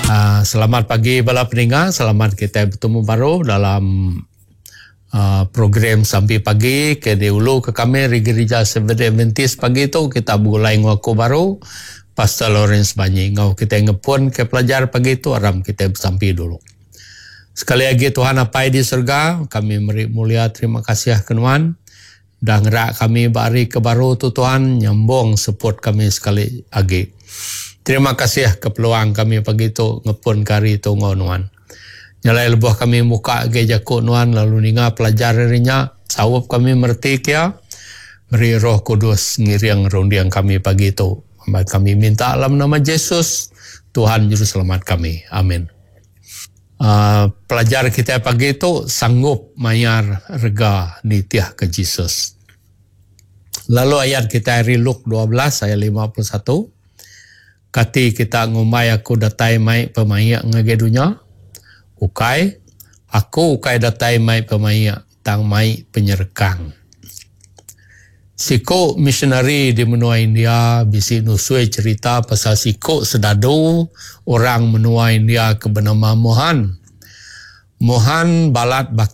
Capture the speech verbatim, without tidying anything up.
Uh, selamat pagi bala peninga, selamat kita betemu baru dalam uh, program Sampi Pagi ke diulu ke kami di Gereja Seventh Adventist. Pagi tu kita begulai enggau aku baru, Pastor Lawrence Banyi. Enggau kita ngepun ke pelajar pagi tu, aram kita besampi dulu. Sekali lagi, Tuhan Apai di surga, kami meri mulia terima kasih ke Nuan. Dah ngerak kami ba hari ke baru tu Tuhan, nyambung support kami sekali lagi. Terima kasih ke peluang kami pagi tu ngepun ke hari tu enggau Nuan. Nyalai lebuh kami muka ke jaku Nuan lalu ninga pelajar hari nya, saup kami mereti kia, beri Roh Kudus ngiring runding kami pagi tu. Kami minta dalam nama Jesus, Tuhan Juru Selamat kami. Amin. Uh, pelajar kita pagi tu, sanggup mayar rega nitih ke Jesus. Lalu ayat kita hari Luke dua belas ayat lima puluh satu. Kati kita ngumbai aku datai mai pemaik ngagai dunia? Ukai, aku ukai datai mai pemaik, tang mai penyerekang. Siko missionary di menua India bisi nusui cerita pasal siko sedadu orang menua India ke bernama Mohan. Mohan balat bakal.